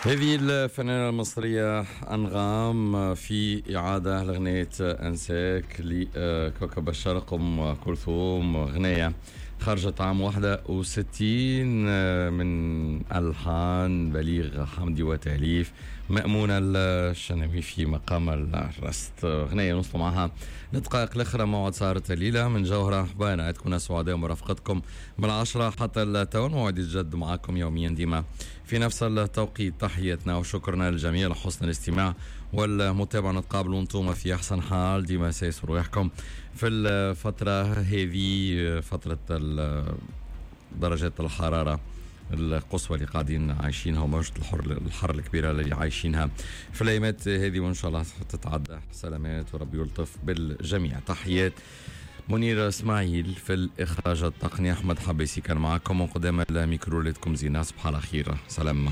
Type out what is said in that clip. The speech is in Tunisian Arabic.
هذه الفنانة المصرية أنغام في إعادة لأغنية أنساك لكوكب الشرق أم كلثوم، أغنية خرجت عام 61 من ألحان بليغ حمدي وتأليف مأمونة الشناوي في مقام الرست. أغنية نوصل معها لدقائق الأخرى موعد سهرة الليلة من جوهرة حبانا. تكون سعداء مرافقتكم من 10 حتى التون، موعد يتجدد معكم يوميا ديما في نفس التوقيت. تحياتنا وشكرنا للجميع لحسن الاستماع والمتابعة. نتقابلوا انتم في أحسن حال، ديما سايسوا رواحكم في الفترة هذه، فترة درجات الحرارة القصوى اللي قاعدين عايشينها وموجة الحر الكبيرة اللي عايشينها في الأيامات هذه، وإن شاء الله تتعدى سلامات وربي يلطف بالجميع. تحيات منير اسماعيل في الإخراج التقني، أحمد حبيسي كان معكم وقدام الميكرو. لكم زينة، صباح على خير، سلام.